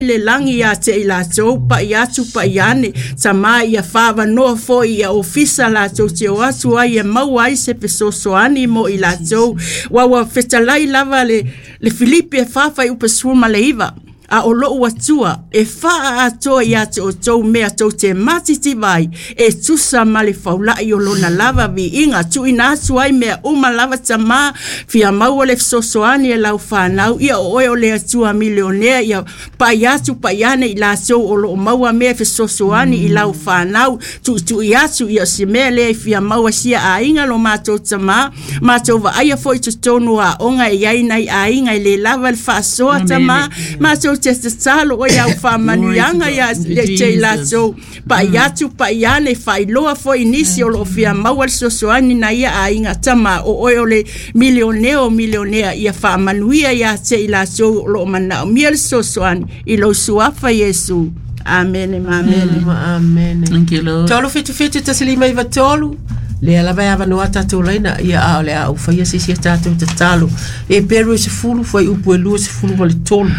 Le lagi ia te i latou, pai atu pai ane, Tamā ia faaavanoa foi ia ofisa latou te o atu ai e maua ai se fesoasoani mo i latou. Aua ua fetalai lava le, le Filipi e 4 fuaiupu 19, a o lou Atua e faaatoa ia te outou mea tou te matitiva ai, e tusa ma le faulai o lona lava viiga. Tuuina atu ai mea uma lava, Tamā, fia maua le fesoasoani e lau fanau, ia o oe o le Atua milionea, ia pai atu pai ane i latou o lo o maua mea e fesoasoani i lau fanau, tuitui atu ia o se mea lea e fia maua sia aiga lo matou Tamā, matou vaaia foi i totonu o aoga e i ai nai aiga e le lava le faasoa, Tamā, matou te tatalo oe au faamanuiaga ia te i latou, pai atu pai ane, faailoa foi i nisi o lo o fia maua le fesoasoani na ia aiga, Tama, o oe o le milionea o milionea, ia faamanuia ia te i latou o lo o manaomia le fesoasoani i lou suafa Iesu. Amene ma amene. Ma amene. Thank you, Lord. 377 153 lea lava e avanoa tatou laina ia a o le a ou faia se isi a tatou tatalo. Eperu e 10 fuaiupu e 23.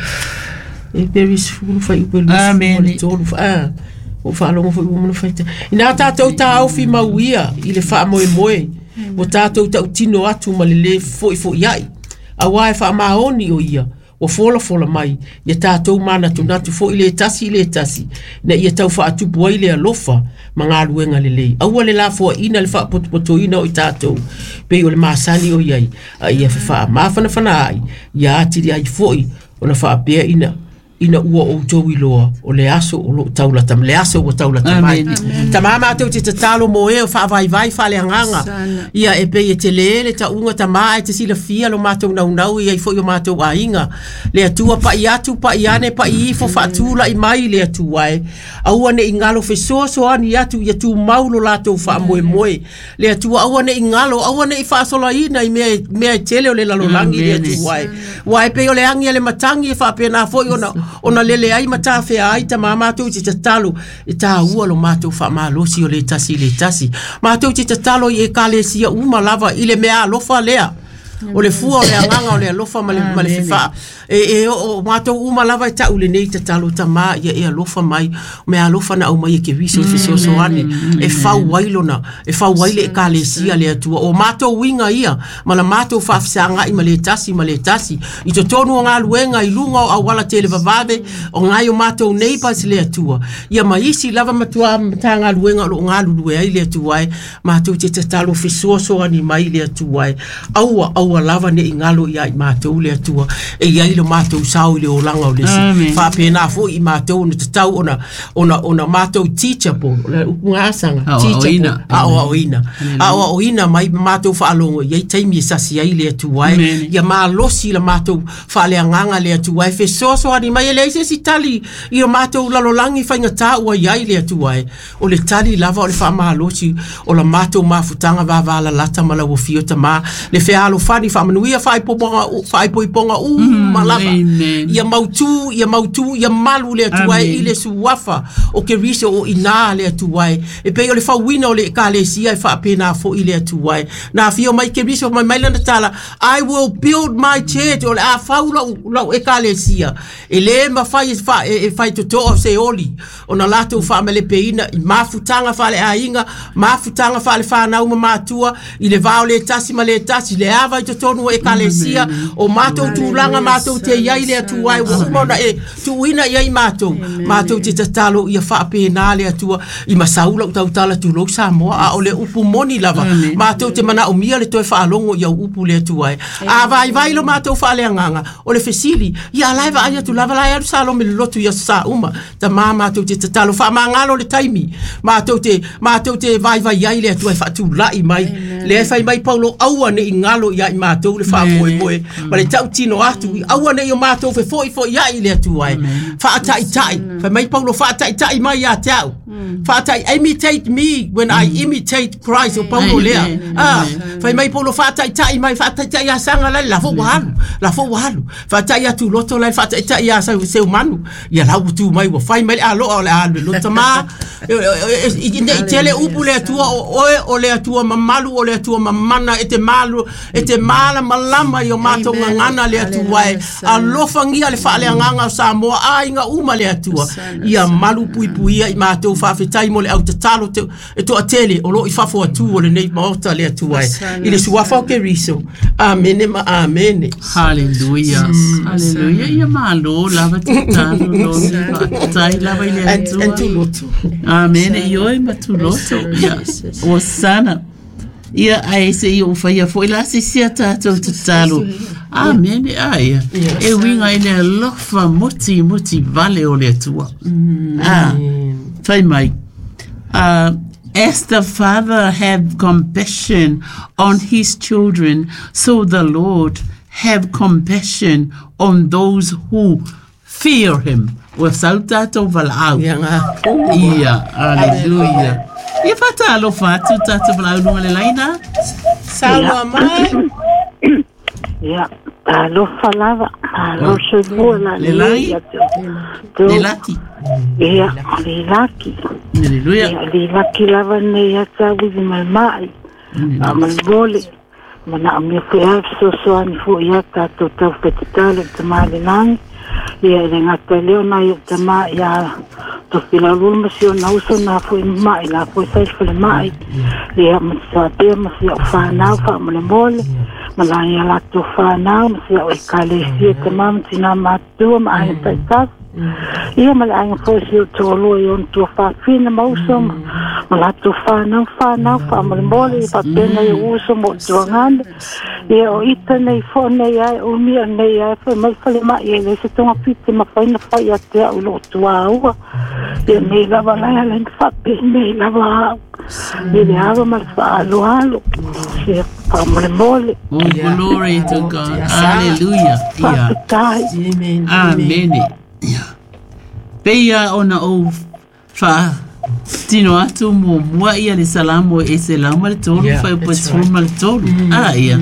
Eperu e 10 fuaiupu e 23. Ah, ua faalogo foi ua mana faita. Inā tatou taofi mau ia i le faamoemoe, ua tatou tautino atu ma le lē fo'ifo'ia'i, auā e faamaoni o ia, ua folafola mai ia tatou manatunatu foi le tasi i le tasi, ina ia tau faatupu ai le alofa ma galuega lelei. Aua le lafoaiina le faapotopotoina o i tatou, pei o le masani o i ai, a ia fefaamafanafana ai, ia atili ai foi ona faapea ina ina ua outou iloa o le aso o loo taulata le aso ua taulata mai. Tamā matou te tatalo mo e o faavaivai faaleagaga ia e pei e tele le tauga Tamā ae te silafia lo matou naunau e i ai foi o matou aiga le Atua pai atu pai ane pai ifo faatulai mai le Atua e aua ne i galo fesoasoani atu ia tumau lo latou faamoemoe le Atua aua ne i galo, aua ne i faasolaina i mea, mea e tele o le lalolagi le Atua e. Ua e pei o le agi a le matagi e faapena foi ona, ona lele ai ma tafea ai Tamā matou te tatalo e tāua lo matou faamalosi o le tasi i le tasi. Matou te tatalo i Ekalesia uma lava i le mea alofa lea. O le fua o le agaga o le alofa ma le, ma le fefaa. E, e o matou uma lava e ta'u lenei tatalo Tamā ia e alofa mai, o mea alofa na aumai e Keriso i fesoasoani e fau ai lona, e fau ai le Ekalesia le Atua. O matou uiga ia ma la matou faafesaga'i ma le tasi ma le tasi i totonu o galuega i luga o auala televavave o nai o matou neighbours le Atua. Ia ma isi lava matuā Matagaluega o lo o galulue ai le Atua e. Matou te tatalo fesoasoani mai le Atua e. Aua, aua lava ne i galo ia i matou le Atua e i ai lo matou sao i le olaga o le isi. Faapena foi i matou ona tatau ona, ona, ona matou teachable, o le upu gasanga, teachable, aoaoina. Aoaoina mai matou faalogo i ai taimi e sasi ai le Atua e. Ia malosi la matou faaleagaga le Atua e fesoasoani mai e leai se isi tali i o matou lalolagi faigata ua i ai le Atua e. O le tali lava o le faamalosi o la matou mafutaga vavalalata ma lau afio Tamā, le fealofani faamanuia faaipoipoga uma lava. Ia mautū, ia mautū, ia malu le Atua e i le suafa o Keriso o i ina le Atua e. E pei o le fauina o le Ekalesia e faapena foi le Atua e. Na afio mai Keriso fai mai lana tala, I will build my church, o le a fau lau, lau Ekalesia. E le mafai e, fa, e, e faitotoa se oli ona latou faamalepeina i mafutaga faaleaiga, mafutaga faalefanau ma matua, i le va o le tasi ma le tasi, le ava i totonu o ekalesia, o matou tulaga matou te i ai le Atua e ua uma ona e tuuina i ai matou, matou te tatalo ia faapena le Atua i masau lau tautala tulou Samoa, a o le upu moni lava, matou te manaomia le toe faalogo i au upu le Atua e. A vaivai lo matou faaleagaga, o le fesili, ia a la e vaai atu lava la e alu Salome i le lotu i aso Sa uma. Tamā matou te tatalo faamagalo le taimi matou te matou te vaivai ai le Atua e faatulai mai. Lea e fai mai Paulo aua ne i galo ia i matou le faamoemoe ma le tautino atu aua ne i o matou fefoifoiai i le Atua e faataitai. Fai mai Paulo faataitai mai ia te au. Faatai imitate me when I imitate Christ o Paulo lea. Ah, fai mai Paulo faataitai mai faataitai ia Saga la la fo ua alu, la fo ua alu. Faataitai atu loto la faataitai ia Seumanu. Ia la ua tu mai ua fai mai le aloa o le a alu i loto ma ne i tele upu le Atua o oe o le Atua mamalu o le Atua mamana e te malu e te malamalama i o matou gagana le Atua e. Alofagia le faaleagaga o Samoa aiga uma le Atua. Ia malu puipuia i matou faafetai mo le au tatalo te, e toatele o loo i fafo atu o lenei maota le Atua e. I le suafa o Keriso. Amene ma amene. Hallelujah. Hallelujah. Ia malo lava tatalo Loni. Faafetai lava i le And, Atua. and tuloto. Amene. Ioe ma tuloto. Ia. Osana. Ia ae se i ou faia fo'i la se isi a tatou tatalo. Amene. Aia. E uiga i le alofa muti vale o le Atua. Ah, fai mai. As the Father have compassion on his children, so the Lord have compassion on those who fear him. Ua sau tatou valaau. Ia ngā. Ia, hallelujah. Ia faatalofa atu tatou valaau luga le laina. Saunoa mai. Ia, talofa lava, malo soifua la Le lagi? lelei ia te outou. Le laki. Ia, le laki. Hallelujah. Ia, le laki lava nei ia tau i malemai. A malemole. Mana o mea foi a fesoasoani foi ia tatou tau fetatalo i tamā le lagi. Ia, e le gata i lea ona ai o tamā ia Tofilaululu ma si ona uso na foi ma'i la foi sa i le falemai. Ia, ma te faapea ma si au whanau faamolemole. Ma la ia latou whanau ma si au ekalesia tamā ma tinā matua ma aiga taitasi. Ia ma le aiga foi si o toalua i ona tua faafina ma uso ma latou whanau whanau faamolemole ia faapena i uso mo tuagane. Ia o ita nei fo nei ai o mia nei ai foi mai falemai e le se tonga pite ma faina fai a te au lo tua ua. Ia nei lava lai ala ni fape nei lava au. I le ava ma le faaloalo. Ia faamolemole. Oh, glory to God. Hallelujah. Ia. Faafetai. Amen. Amene. Ia. Peia ona ou fa tino atu muamua ia le salamo e 103 Yeah, fai that's po right. ma le tolu. Ah, ia.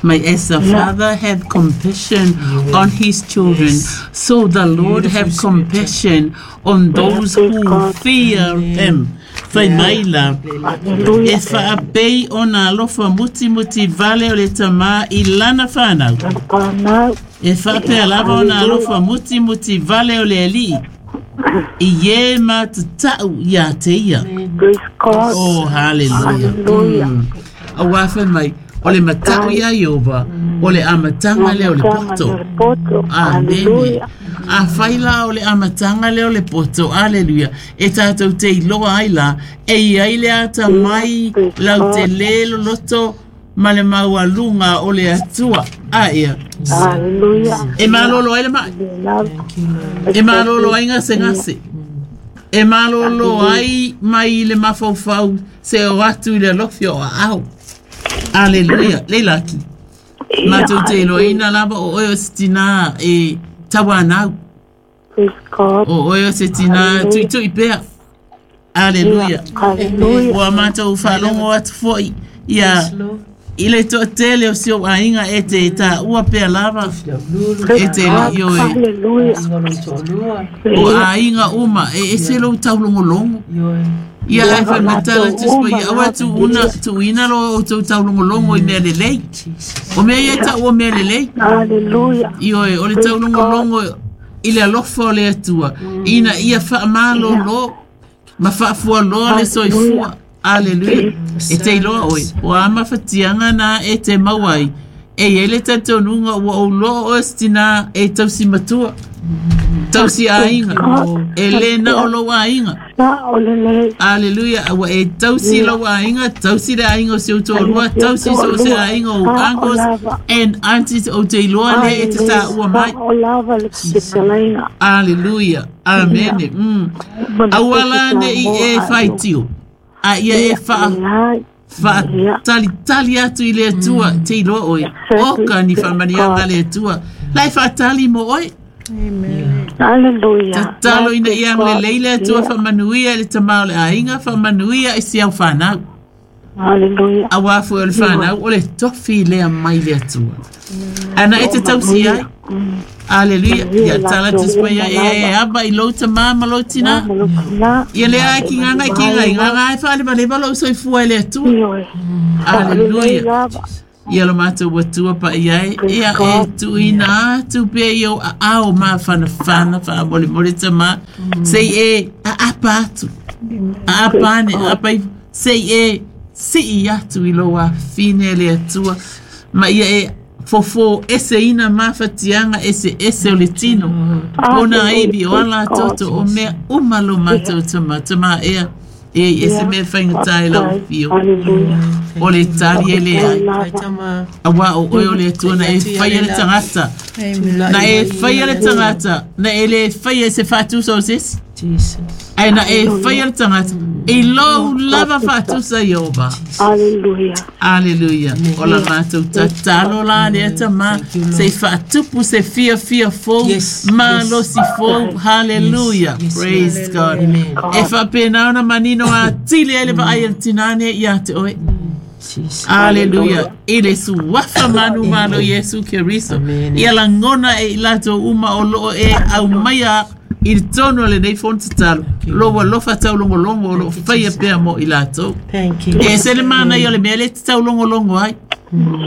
May as the Father have compassion on his children, so the Lord Beautiful have scripture. compassion on those Praise who God. fear him. Fai mai la. E Hallelujah. faapei ona alofa mutimuti vale o le tamā i lana whanau. Whanau. E faapea lava ona alofa mutimuti vale o le alii. I ie ma tatau ia te ia. Praise God. Oh, hallelujah. Hallelujah. Auā fai mai, o le matau ia Iova, o le amatanga lea o le poto. Le poto. Amene. Hallelujah. A whai la o le amatanga lea o le poto, aleluia. E tātou te iloa ai la, e iai le ata mai lau te lē loloto ma le maualuga o le Atua. A ia. Hallelujah. E malolo ai le mai. E malolo ai gasegase. E malolo ai mai le mafaufau se o atu i le alofi o aao. Aleluia. Le laki. Matou te iloaina lava o oe o se tinā e tauanau. Praise God. O oe o se tinā tuitui pea. Aleluia. Hallelujah. Ua matou faalogo atu fo'i ia Yes, Lord. i le toatele o si ou aiga e te taua pea lava e te lii oe. Hallelujah. O aiga uma e ese lou taulogologo. Ia ae faimatala tusi mai ia aua tuuna tuuina lo outou taulogologo i mea lelei. O mea ia e tau o mea lelei. Hallelujah. Ioe, o le taulogologo i le alofa o le Atua. Ina ia faamalolo ma faafualoa le soifua. Aleluia. E te iloa oe, o a mafatiaga na e te mau ai. E iai le talitonuga ua ou loa oe se tinā e tausi matua. Tausi aiga. E lē na o lou aiga. Na o le lei. Aleluia. Ua e tausi lau aiga, tausi le aiga o si ou toalua, tausi so o se aiga o uncles and aunties o te iloa le e te tāua mai. O lava le fetalaiga. Aleluia. Amene. Aua la ne i e faitio. A ia e wha Lai. whaatalitali atu i le Atua, te iloa oe. O ka ni whamanianga le Atua. Lai whaatali mo oe. Hallelujah. Tatalo ina ia ang lelei le Atua whamanuia i le tamā o le aiga, whamanuia i si au whanau. Hallelujah. Auā foi o le whanau, o le tofi lea mai le Atua. Ana e te tausi ai. Aleluia. Ia tala tusi mai ia e e aba i lou tamā ma lou tinā. Na. Ia lea ai ki ngā ngai ki ngai, ngā ngai whaalemalema lou soifua i le Atua. Ioe. Aleluia. Lava. Ia lo mātou atua pa i ai. Ia e tuina atu pea i au aao mafanafana faamolemole tamā. Sei e aapa atu. Aapa ane, aapa ifo. Sei e sii atu i lou afine e le Atua. Ma ia e fofo eseina mafatiaga eseese o le tino. Pona ivi o ala toto o mea uma lo mātou tama. Tama ea. E i e se mea faigata i lau afio. O le tali e leai. Auā o oe o le Atua na e faia le tagata. Na e faia le tagata. Na e le faia i se faatusa o se isi. Ae na e faia le tagata i lou lava faatusa Ieova. Aleluia. Aleluia. O la matou tatalo la lea tamā se i faatupu se fiafia fou, malosi fou. Haleluia. Praise God. E faapena ona manino atili ai le vaai a le tinā nei ia te oe. Aleluia. I le suafa manumalo Iesu Keriso. Ia lagona e i latou uma o loo e aumaia i totonu o lenei fono tatalo lou alofa taulogologo o loo faia pea mo i latou. E ese le manaia o le mea lea e te taulogologo ai.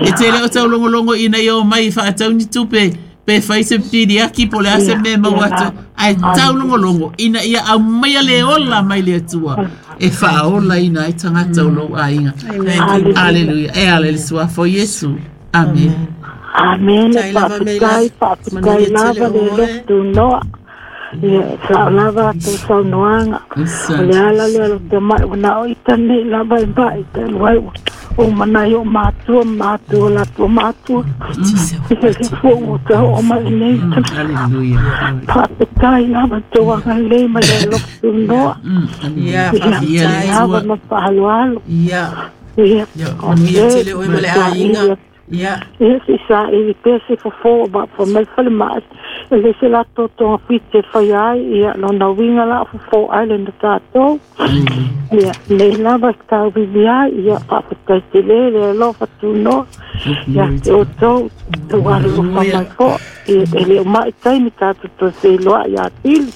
E te le o taulogologo ina ia omai e faatau ni tupe pe fai se piliaki po o le a se mea e maua atu ai, ae taulogologo ina ia aumaia le ola mai le Atua e faaolaina ai tagata o lou aiga. Aleluia. E ala i le suafa o Iesu. Amene. Amene. Tai lava me la. Faafetai, faafetai Manuia lava tele le oe. alofa tunoa. Ia, sao lava a tou saunoaga. O le ala lea o le tamai ua na o ita nei lava e ma'i talu ai ua ou manai o matua ma matua o latou matua. Ia le fua ua tao'o mai nei. Aleluia. Faafetai lava tou agalelei ma le alofa tunoa. Ia, Ia, Ia le faafetai. lava Atua. ma faaaloalo. Ia, Ia, ia, manuia tele oe ma le aiga. Ia, Ia se saili pea se fofo ma fa mai falemai. E le se latou togafiti e faia ai, ia lona uiga la o fofo ai lena tatou. Ia, nei lava tauivi ai, ia faafetai tele le alofa tunoa. Ia te outou, tou alolofa mai fo'i. Ia, e le o ma'i taimi tatou toe feiloa'i atili.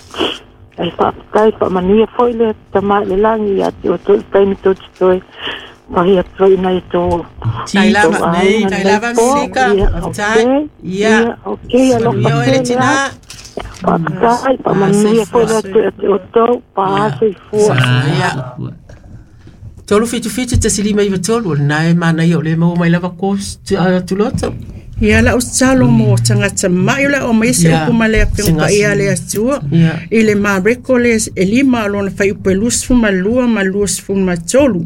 Ai faafetai faamanuia fo'i le tama i le lagi ia te outou i le taimi tou te toe pahi atu ai inai tou tai lava, tou aiga tai nei lava po. Milika. Ia, Faafetai. okei. Ia, Ia, okei, alofa manuia oe le tele tinā. ai. Faafetai, faamanuia fo'i le Atua ia te outou, paā soifua. Ia. 377 1 5 9 3, o lena e manaia o le maua mai lava ko tuloto. Ia lau tatalo mo tagata ma'i o le a aumai se Ia, upu ma le afioga se paia a le gasi. Atua Ia. i le Mareko le e lima o lona fuaiupu e 22 ma 23.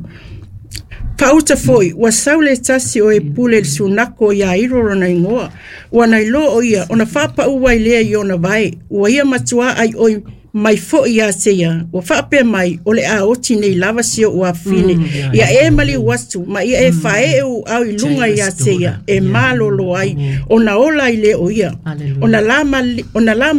Faauta fo'i, ua sau le tasi o e pule i le sunako ia Iro lona igoa. Ua nailo o ia, ona faapa'u ai lea i ona vae. Ua ia matuā ai oi mai fo'i ia te ia. Ua faapea mai, o le a oti nei lava si o'u afine. Ia e maliu atu, ma ia e faae'e u'au i luga ia te ia, e malolo ai. Ona ola ai lea o ia. Hallelujah. Ona la ona la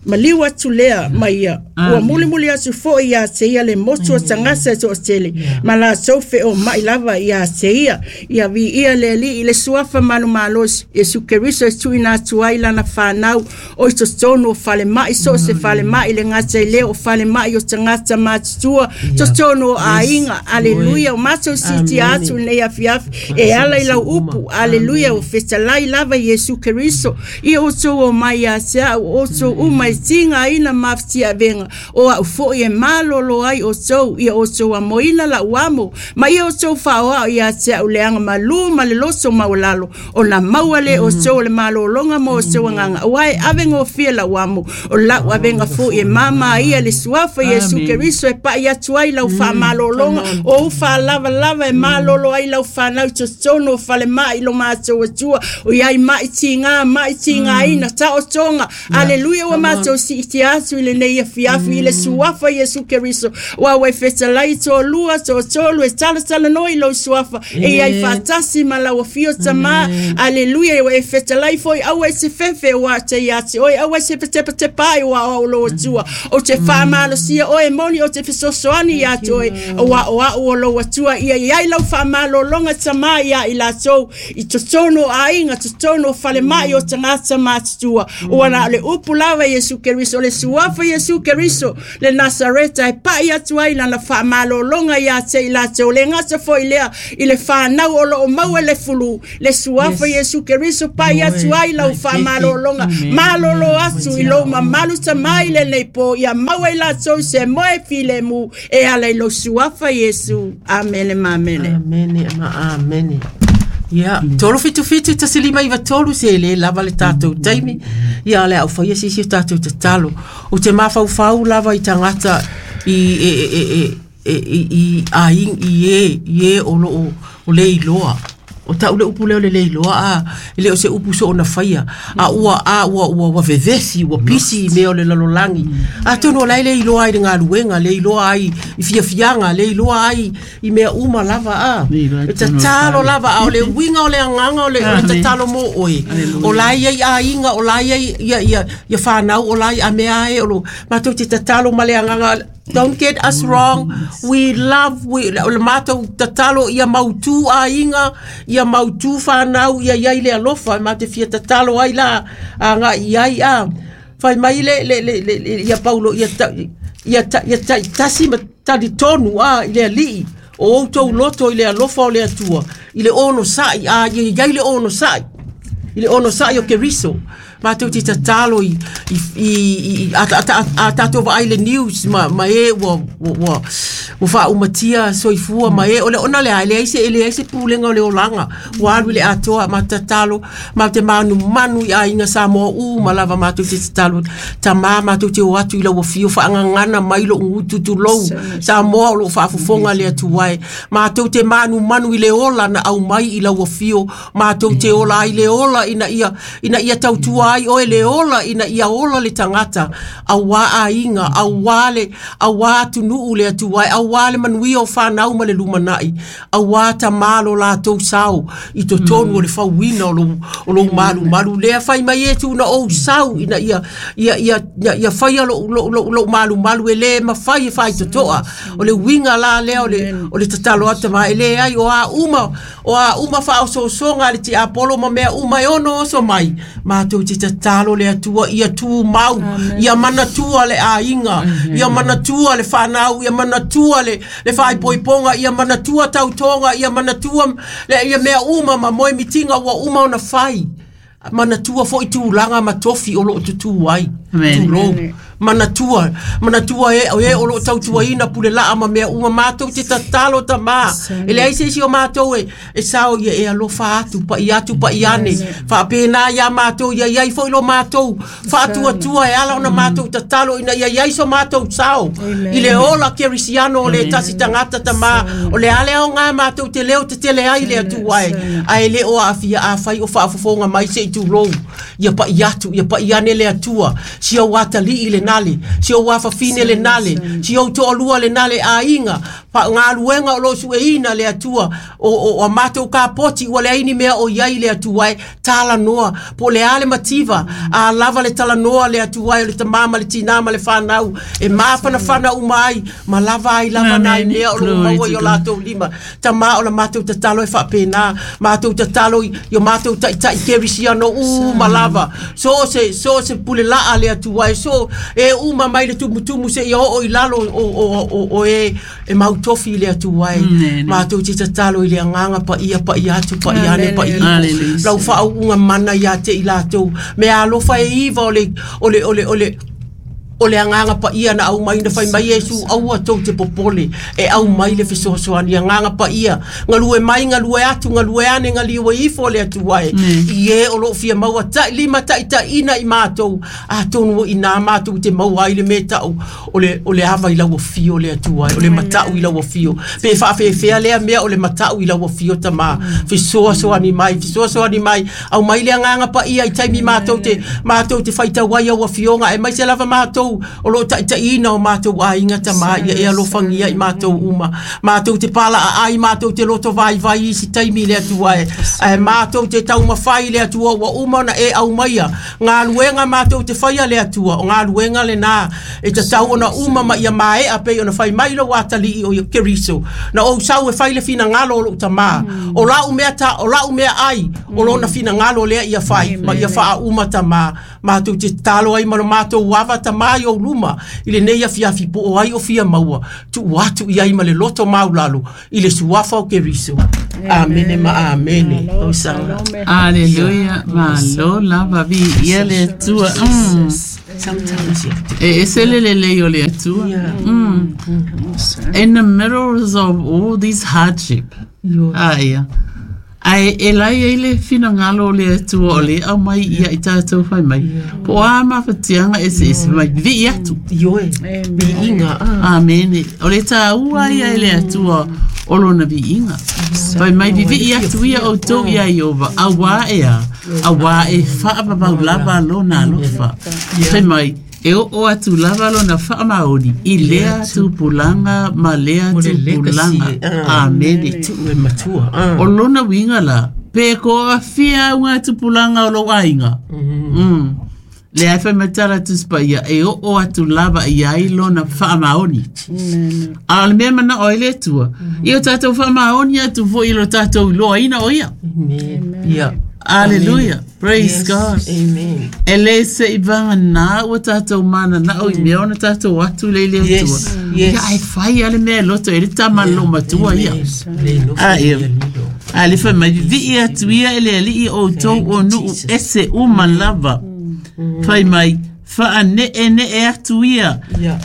maliu atu lea mai ia. Ua mulimuli atu fo'i ia te ia le motu o tagata e to'atele. Ma latou fe'oma'i lava ia te ia. Ia vi'ia le Alii i le suafa malomalosi. Iesu Keriso e tu'uina atu ai lana fanau o i totonu o falema'i so o se falema'i le gata i lea o falema'i o tagata matutua totonu o aiga. Aleluia. O matou sitia atu i lenei afiafi e ala i lau upu. Aleluia. Ua fetalai lava Iesu Keriso. Ia outou omai ia te a'u outou uma e tigaina mafatiaʻavega o a'u fo'i e malolo ai outou. Ia outou amoina la'u amo ma ia outou faaoa'o ia te a'u leaga malū ma le loto maualalo ona maua lē outou o le malōloga mo outou agaga auā e ave gofie la'u amo o la'u avega fo'i e māmā ia le suafa Iesu Amen. Keriso e pa'i atu ai lau faamalōloga o u faalavalava e malolo ai lau fanau i totonu o falema'i lo matou atua o iai ma'i tigā ma'i tigāina taotoga. Aleluia. Ua matou si'itia atu i lenei afiafi i le suafa Iesu Keriso ua ua e fetalai toalua toatolu e talatalanoa i lou suafa e iai faatasi ma lau afio tamā. Aleluia. Ua e fetalai foi aua e se fefe ua te ia te oe aua e se petepatepa ai ua o lou atua o te faamalosia oe moni o te fesoasoani ia te oe ua o a'u o lou atua ia iai lau faamalōloga tamā ia i latou i totonu o aiga totonu o falema'i o tagata matutua ua na o le upu lava Iesu Iesu Keriso, le suafa Iesu Keriso le Nasareta e pa'i atu ai lana fa'amalōloga iā te i latou le gata fo'i lea i le fanau o lo'o maua le fulu le suafa Iesu Keriso pa'i atu ai lau fa'amalōloga malōlō atu i lou mamalu tamai lenei pō ia maua i latou se moe filemu e ala i lou suafa Iesu. Amene ma amene. Amene ma amene. Ia, 377 1593 se le lava le tātou taimi. Ia, le au whaia sisi o tātou tatalo. O te mafaufau lava i tangata i e e e e i i a i i e i e o lo o le iloa. O tau le upu lea o le le iloa a e le o se upu so ona faia. A ua a ua ua ua vevesi ua pisi i mea o le lalolagi. Atonu o la e le iloa ai le galuega, le iloa ai i fiafiaga, le iloa ai i mea uma lava a. Le iloa ai E tonu o le tatalo fale. lava a o le uiga o le agaga o le, o le tatalo mo oe. O la e i ai aiga, o la e i ai ia, ia, ia whanau, o la i a mea e o lo, mātou te tatalo ma le agaga. Don't get us wrong. We love, we, o le mātou tatalo ia mautū aiga, ia mautū whanau, ia iai le alofa, e mātou fia tatalo ai la, a ngā i ai a. Whai mai le, le, le, le, le ia Paulo, ia, ta, ia, ta, ia ta, tasi ma tali tonu a i le alii, o outou loto i le alofa o le Atua, i le ono sa'i, a ia iai le ono sa'i, i le ono sa'i o Keriso. Mātou te tatalo i, i, i, i a, a, a, a tātou vaai le news ma, ma e ua, ua, ua, ua whaaumatia soifua ma e o le ona le ai le ai se ele ai se pulenga o le olanga ua alu i le atoa ma tatalo ma te manu manu i aiga Samoa u ma lava mātou te tatalo tamā mātou te o atu i lau afio whaangangana mai lo ngutu tulou Samoa o lo whaafofonga le Atua e mātou te manu manu i le ola na au mai i lau afio mātou te ola ai le ola ina ia ina ia tautua ai oe le ola ina ia ola le tangata auā aiga auā le auā atunuu le Atua e auā le manuia o whanau ma le lumanai auā tamā lo latou sao i totonu o le fauina o lou o lou malumalu lea fai mai e tuna ou sau ina ia ia ia ia, ia faia lou lou lou, lou malumalu e le mafai e faitotoa o le uiga la lea o le o le tatalo atu ma e le ai o a uma o a uma whaososoga le tiapolo ma mea uma e ono oso mai mātou te tatalo le Atua ia tū mau ia manatua le aiga ia manatua le whanau ia manatua le, le whaipoiponga ia manatua tautoga ia manatua le, ia mea uma ma moe mitinga ua uma ona whai manatua foi tūlanga ma tofi o loo tutū ai. Amen. Tulou. Manatua, manatua e, e o loo tautuaina pule laa ma mea uma mātou te tatalo tamā. E leai se isi o mātou e, e sao ia e alofa atu, pa'i atu, pa'i ane. Whaapēnā ia mātou, ia iai foi lo mātou. Whaatuatua e ala ona mātou tatalo ina ia iai so mātou sao. I le ola kerisiano o le tasi tangata tamā. O le ale o ngā mātou te leo te tele ai le Atua e. Ae le o aafia a whai o whaafofonga mai se i tulou. Ia pa'i atu, ia pa'i ane le Atua. Si au atalii le nale, si au afafine le nale, si au toalua le nale aiga, pa ngā luenga o lo sueina le Atua, o, o, o a mātou ka poti ua le aini mea o iai le Atua e, tala noa, po le ale mativa, a lava le tala noa le Atua e o le tamama le tina ma le whanau, e māwhana whana umai, ma lava ai lava nai Amen. mea o lo Glory maua to i o God. latou lima. Tamā o la mātou tatalo e whaapēnā, mātou tatalo i i o mātou ta'itai kerisiano u ma lava. So se, so se pule laa le Atua e, so e uma mai le tumutumu se ia oo i lalo o, o, o, o e, e mautofi i le Atua e. Amen. Mātou te tatalo i le agaga paia paia atu paia ane Amen. paia ifo. Hallelujah. Lau faauuga mana ia te i latou. Mea alofa e iva o le, o le, o le, o le, o le agaga paia na au mai na fai mai Iesu aua tou te popole e au mai le fesoasoani agaga paia galue mai galue atu galue ane galiue ifo le Atua e i e o loo fia maua ta'i lima ta'itaʻina i matou atonu o inā matou te maua ai le me ta'u o le, o le ava i lau afio le Atua e o le mata'u i lau afio pe faafefea lea mea o le mata'u i lau afio tamā fesoasoani mai fesoasoani mai au mai le agaga paia i taimi matou te faitau ai au afioga e maise lava matou mātou o loo taitaiina o mātou aiga tamā ia e alofagia i mātou uma. Mātou te pālaa ai, mātou te loto vai vai i si taimi le atua e. Ae mātou te taumawhai le atua ua uma ona e au maia. Ngā luenga mātou te whaia le atua, o ngā luenga le nā e ta tau ona uma ma ia maea pei ona whai mai lo atali i o ia Keriso. Na ou sau e whai le whina ngalo o lou tamā. O lau mea ta, o lau mea ai, o lona whina ngalo lea ia whai, ma ia whaa uma tamā. Mātou te talo ai ma lo mātou ava tamā i o luma, i le nei afi afi po o ai o fia maua, tu atu i ai ma le loto maulalo, i le suafa o Keriso. Amene ma amene. O sanga. Aleluia, malo lava vi ia le Atua. Sometimes you have to. E ese le lelei o le Atua. In the middle of all this hardship. Ah, ia. Ai e lai ai le whina ngalo o le Atua o le au mai ia i tātou whai mai. Po a mawhatianga e se ese mai vi atu. Ioe. Vi inga. Ah. Amene. O le tā ua ia e le Atua o lona vi inga. Whai mai vi vi atu ia o tō ia i ova. A wā e a. A wā e whaapapau lava lona alofa. Whai mai e o o atu lava lona whaamaoni. I lea tupulanga ma lea Mo le legacy, tupulanga. ah. Amene. Tu e matua. Ah. O lona winga la, pe ko a fia au ngā tupulanga o lo ainga. Le ai whai matara tuspa ia, e o o atu lava i ai lona whaamaoni. A le mea mana o ele atua. I o tātou whaamaoni atu fo i lo tātou loa ina o ia. Amen. Yeah. Hallelujah. Praise Yes. God. Amen. E le se i vanga nā ua tātou mana na o i mea ona tātou atu le le atua. Yes. Yes. Ia ai whai ale mea loto e le tama lo matua ia. Le no Ah, ia. lilo. A le whai mai vi atu ia e le alii o tau o nuu ese uma lava. Whai mai whaa ne e ne e atu ia Yeah.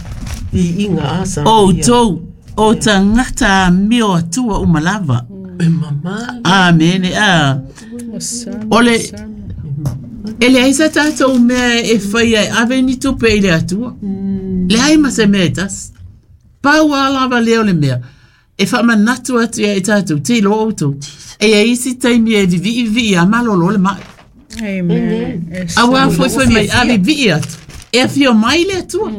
Vi inga asa. o tau o tangata a meo atua uma lava. E mama. Amene a. Ole e le aisa tātou mea e whai ai ave ni tupe i le atua. Le ai ma se mea e tas. Pau a lava leo le mea. E whamanatu atu ia e tātou, te lo outou. E ia isi taimi e vivi vi a malolo le mai. Amen. A wā foi foi mai, a vivi atu. E a whio mai le atua.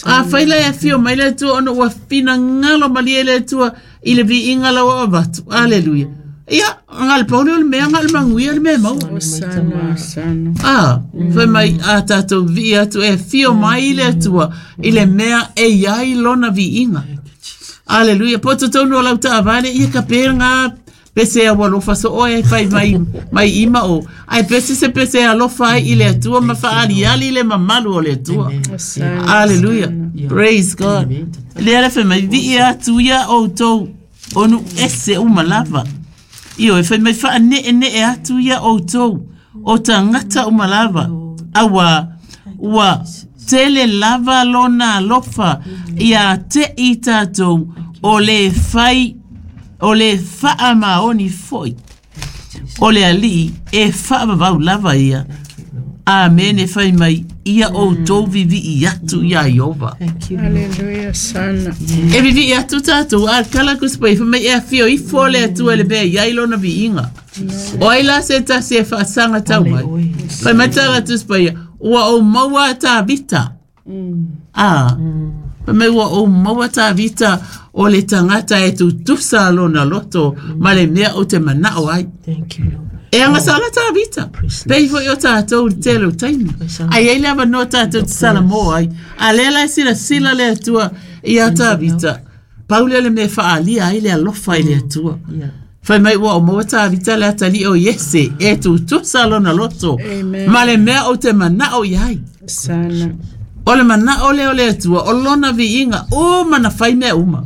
A whai la e a whio mai le atua, ono ua whina ngalo mali e le atua, i le vi inga lawa o vatu. Aleluia. Ia, ngal paule o le mea, ngal manguia le mea mau. Ah, fai mai a tātou vi atu e whio mai i le atua, i le mea e iai lona vi inga. Aleluia. Po tōnu o lau taavale, ia ka pēr ngā pese a walofa so oe e whai mai, mai ima o. Ai pese se pese a alofa ai i le atua, ma whaali ali le mamalu o le atua. Aleluia. Praise God. Le ala whai mai, vi atu ia o tau onu ese uma lava. Io, e whai mai wha ne e ne e atu ia o tau o tangata uma lava. Awa, ua tele lava lona alofa ia te i tātou o le whai, o le whaa maoni foi. O le ali e whaavavau lava ia. Amene whai mai ia o tau vivi i atu ia Iova. Thank you. Hallelujah, sana. E vivi i atu tātou, a kala kuspa i whamai e a whio i fole atua le mea iai lona vi inga. O ai la se tasi e whaasanga tau mai. Whai mai tāla tuspa ia, ua o maua tā vita. Ah, whai mai ua o maua tā vita o le tangata e tutusa lona loto, ma le mea o te manao ai. Thank you, Lord. E anga sala tā vita. Pei fo i o tātou i te leo taimi. Ai ei lava no tātou te sala mō ai. A le la sila sila le atua i a tā vita. Paule le me whaalia ai le alofa i le atua. Yeah. Whai mai ua o maua tā vita le atali o Iese e tutusa lona loto. Amen. Ma le mea o te manao i ai. Sana. O le manao le o le atua, o lona viinga, o mana whai mea uma.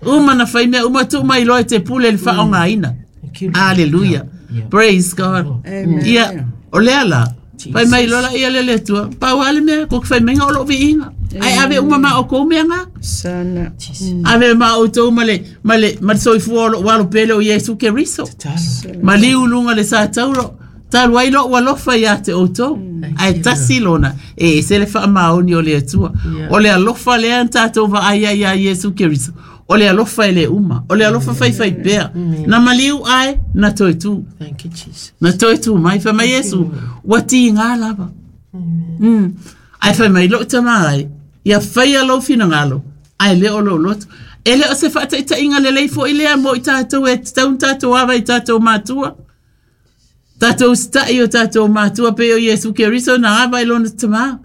O mana whai mea uma, tu mai loe te pule le whaonga ina. Thank you. Lord. Hallelujah. Yeah. Praise God. Amen. Ia, o lea la. Whai mai lola ia le le atua. Pau ale mea, ko whai mai o lo viinga. Ai ave uma ma o kou mea ngā. Sana. Jesus. Ave ma o tau ma le, ma le, ma le soifua o lo walo pele o Yesu Keriso. Talo. Ma liu lunga le sa tauro. Talu ai lo alofa ia te o tau. Ai tasi lona. E se le wha maoni o le atua. Yeah. O le alofa le an tātou va ai ai ia Yesu Keriso. O le alofa e le uma. O le alofa whai whai pea. Na maliu ai, na toi tū. Thank you, Jesus. Na toi tū mai wha mai Yesu. Wa ti ngā lava. Ae fai mai lou tamā ai, ia faia lou finagalo, ae le o lou loto. E le o se faataitaiga lelei foi lea mo i tatou e tatau ona tatou ava i tatou matua. Tatou usitai i o tatou matua pei o Iesu Keriso na ava i lona tamā.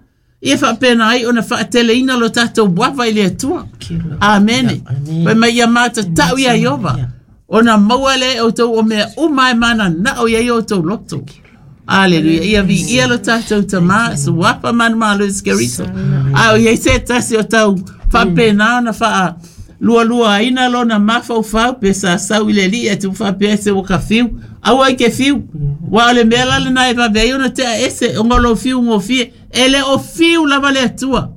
Ia faapena ai ona faateleina lo tatou ava i le Atua. Amene. Fai mai ia matatau ia Iova. Ona maua lea e outou o mea uma e mananao i ai outou loto. Aleluia. Ia viia lo tatou tamā, suafa manumalo Iesu Keriso. A o i ai se tasi o tau faapena ona faa lualuaina lona mafaufau pe sa sau i le alii ae tupu faapea se ua ka fiu. Aua i ke fiu. Ua o le mea la lena e vave ai ona tea ese ona o lou fiu gofie. E le o fiu lava le Atua.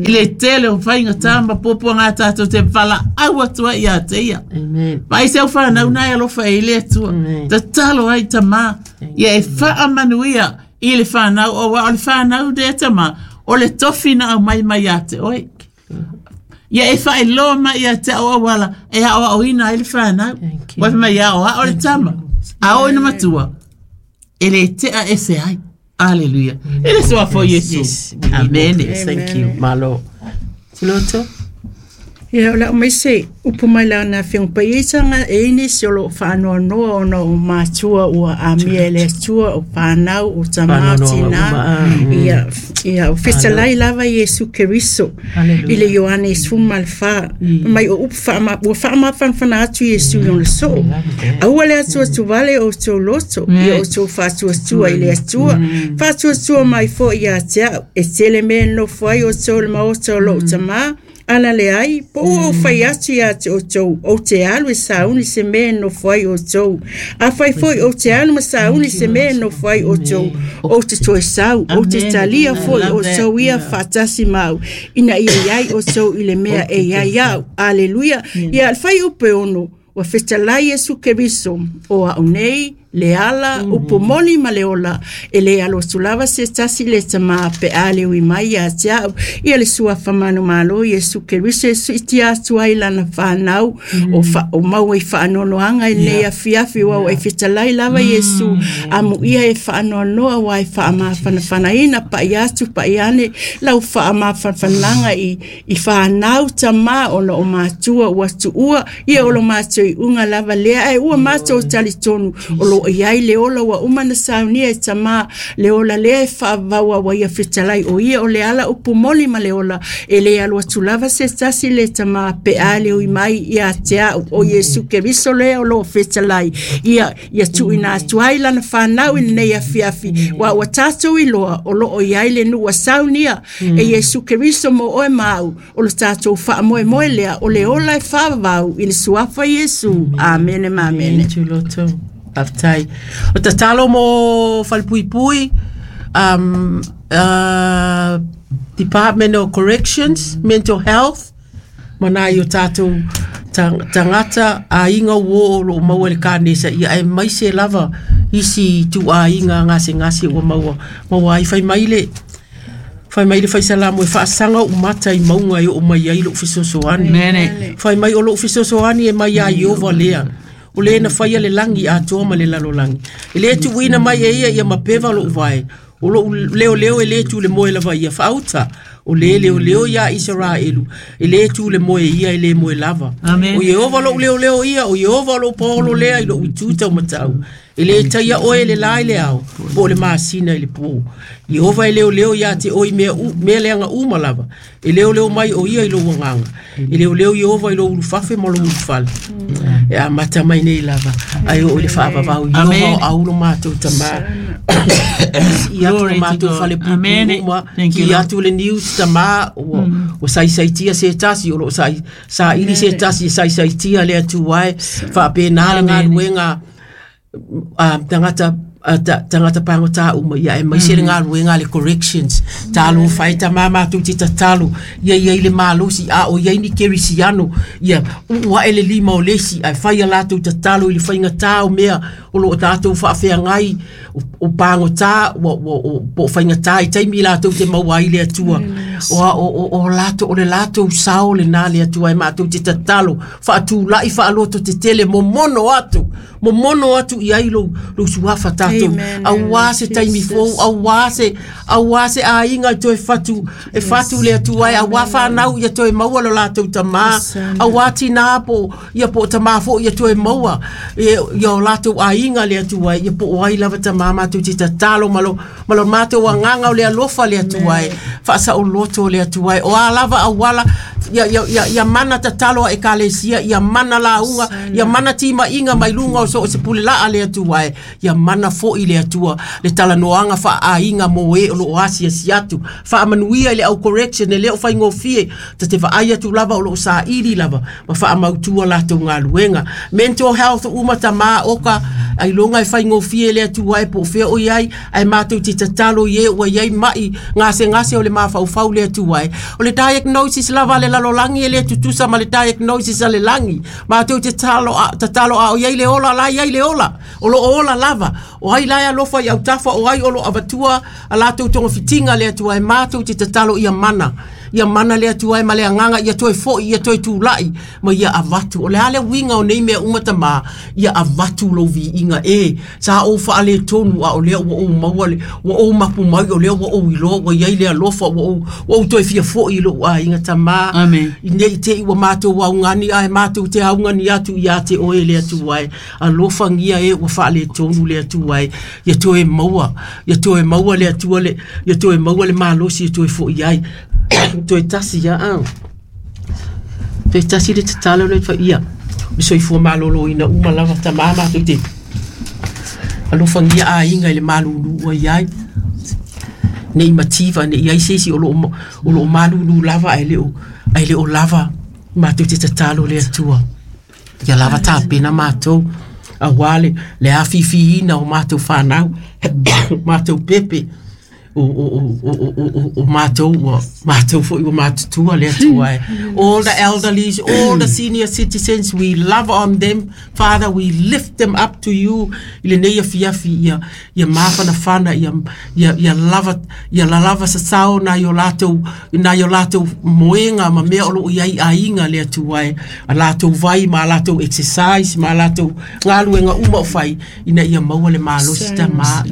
I le tele o faigata ma puapuaga a tatou te valaau atu ai ia te ia. Amen. Vaai se au whanau nā e alofa e i le Atua. Amen. Tatalo ai tamā. Ia e faamanuia i le whanau o wa o le whanau lea tamā. O le tofi na aumai mai ia te oe. Ia e whaeloa mai ia te au auala e aoaoina ai le whanau. Thank you. Wai mai ia o ao le tama. A o ina matua. E le tea ese ai. Aleluia. E le suafa o Iesu. Yes, we need Amen. more. Yes, thank you. Malo. Tuloto. Ia, o le au mai se upu mai la na whionga pai e sanga e ini se o lo whaanoanoa ona o mātua ua amia e le atua o whanau o tamā Whaanoanoa tina. uma, ah, Ia, ia, o fetalai lava Iesu Keriso. Hallelujah. I le Ioane sefulu ma le fa. Mai o upu whaama, ua whaamafanafana atu Iesu i ona soo. Aua le atuatuvale o outou loto, ia outou faatuatua i le Atua. Faatuatua mai foi ia te au, e tele mea e nofo ai outou i le maota o lou tamā, ana le ai, po ua ou fai atu ia te outou, ou te alu e sauni se mea e nofo ai outou. A fai foi ou te alu ma sauni se mea e nofo ai outou, ou te toe sau, ou te Amen. talia I foi love that. outou ia faatasi mau, ina ia iai outou i le mea e iai au. Aleluia. Ia, le fai upe ono, ua fetalai Iesu Keriso, o au nei, le ala, upu moni ma le ola, e le alo atu lava se tasi le tamā pe a le ui mai ia te au, ia le suafa manumalo Iesu Keriso e suitia atu ai lana whanau, o, fa, o maua i whaanoanoanga i nei afiafi wau e fetalai lava Iesu, amu ia e whaanoanoa wa e whaamawhanawhanaina pa i atu pa i ane, lau whaamawhanawhananga i, i whanau tamā ona o mātua ua tuua, ia o lo mātou i unga lava lea, ai ua mātou tali tonu, o lo i ai le ola ua uma na saunia e tamā, le ola lea e whaavaua wa ia fetalai o ia o le ala upu moli ma le ola, e le alu atu lava se tasi le tamā pe a le ui mai ia te au o Iesu Keriso lea o lo fetalai, ia, ia tuuina atu ai lana whanau i lenei afiafi, wa ua tātou i loa o lo o i ai le nuu a saunia e Iesu Keriso mo oe mau, o lo tātou whaamoemoe lea, o le ola e whaavau i le suafa Iesu. Amene ma amene. Tuloto. Faafetai. O tatalo mo falepuipui, Department of Corrections, Mental Health, ma nai o tatou tagata aiga ua o loo maua i le kanesa ia ae mai se lava isi ituaiga gasegase ua maua maua ai fai mai le fai mai le faisalamo e faasaga ou mata i mauga e oo mai ai lou fesoasoani Mene. fai mai o lou fesoasoani e mai ia Iova lea o lē na faia le lagi atoa ma le lalolagi e lē tuuina mai e ia ia mapeva lou vae o lou leoleo e lē tu le moe lava ia faauta o lē leoleo iā Isaraelu e lē tu le moe ia e lē moe lava Amen. o Iehova lou leoleo ia o Iehova lou paolo lea i lou itu taumatau e lē taia oe le la i le ao po o le masina i le pō Iehova e leoleo iā te oe i mea, u, mea leaga uma lava e leoleo mai o ia i lou agaga e leoleo Iehova i lou ulufafe ma lou ulufale e amata mai nei lava ai oo i le faavavau Iehova Amen. o aulo matou tamā i atu Glory ma to matou God. fale Amen. puipui uma Thank you, ki Lord. atu le news tamā ua, ua saisaitia se tasi o loo sai saili se tasi e saisaitia le atua e faapena le Amen. galuega tagata tagata pagotā uma ia e maise le galuega le corrections talofa ai tamā matou te tatalo ia iai le malosi a o iai ni kerisiano ia uu aʻe le lima o le isi ae fai a latou tatalo i le faigatā o mea o loo tatou faafeagai o pagotā ua ua o po o faigatā i taimi latou te maua ai le atua o a- o o o latou o le latou sao lenā le atua e matou te tatalo faatulaʻi faaloto tetele momono atu momono atu i ai lou lou suafa mātou. Auā se taimi fou, auā se aiga e toe fatu, e fatu le Atua e, auā whānau ia toe maua lo lātou tamā, auā tinā po, ia po tamā fo ia toe maua, ia o lātou aiga le Atua e, ia po o ai lava tamā mātou te tatalo malo, malo mātou anganga o le alofa le Atua e, whaasa o loto le Atua e, o a lava awala, ia mana tatalo a ekalesia, ia mana launga, ia mana tima inga mai lunga o so o se pule laa le Atua e, ia mana fo i le Atua, le talanoaga faaiga mo e o loo asiasi atu, faamanuia i le au correction e le o faigofie, ta te vaai atu lava o loo saili lava, ma faamautua latou galuega. Mental health uma tamā oka, ailoga e faigofie le Atua e po o fea o i ai, ae matou te tatalo i e ua iai mai gasegase o le mafaufau le Atua e. O le diagnosis lava a le lalolagi e le tutusa ma le diagnosis a le lagi. Matou te tatalo a o iai le ola la iai le ola, o loo ola lava, o ai la e alofa i autafa, o ai o loo avatua a latou togafitiga le Atua e, matou te tatalo ia mana. Ia mana le Atua e ma le agaga ia toe foi, ia toe tulai, ma ia avatu. O le a le uiga o nei mea uma tamā, ia avatu lou viiga e, sa ou faaletonu a o lea ua ou maua le, ua ou mapu mai, o lea ua ou iloa, ua iai le alofa, ua ou toe fia foi i lou aiga tamā. Amen. I nei te i ua mātou augani, ae mātou te augani atu ia te oe le Atua e. Alofagia e ua faaletonu le Atua e. Ia toe maua, ia toe maua le Atua le, ia toe maua le malosi ia toe foi ai. Toe tasi ia au. Toe tasi le tatalo le fa ia. Le soifua maloloina uma lava tamā mātou te. Alofagia aiga i le malulu ua iai. Nei mativa, nei ai se isi o loo malulu lava ae le o lava mātou te tatalo le Atua. Ia lava tapena mātou. Auā le afifiina o mātou whānau, mātou pepe, o mātou ua mātou foi ua matutua le Atua e. All the elderlies, all the senior citizens, we love on them. Father, we lift them up to you. I lenei afiafi ia mafanafana, ia lava, ia lalava sasao nai o latou moega ma mea o loo iai aiga le Atua e. A latou vai ma latou exercise ma latou galuega uma o fai ina ia maua le malosi tamā.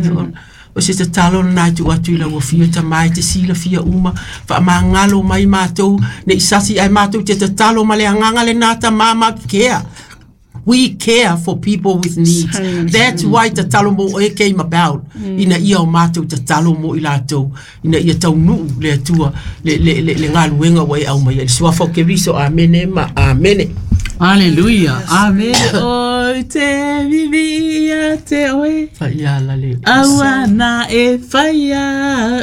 O se tatalo na tu atu i lau afio tamā e te silafia uma, faamagalo mai mātou, nei sasi ai mātou te tatalo ma le agaga lenā tamā ma kea. We care for people with needs. That's why tatalo mo e came about. Ina ia o mātou tatalo mo i latou. Ina ia taunuu le Atua, le galuega ua e aumai ai. Le suafa o Keriso, amene ma amene. Hallelujah. Amen. Oi te vivia te oe. Whaiala le. Aua na e whaia.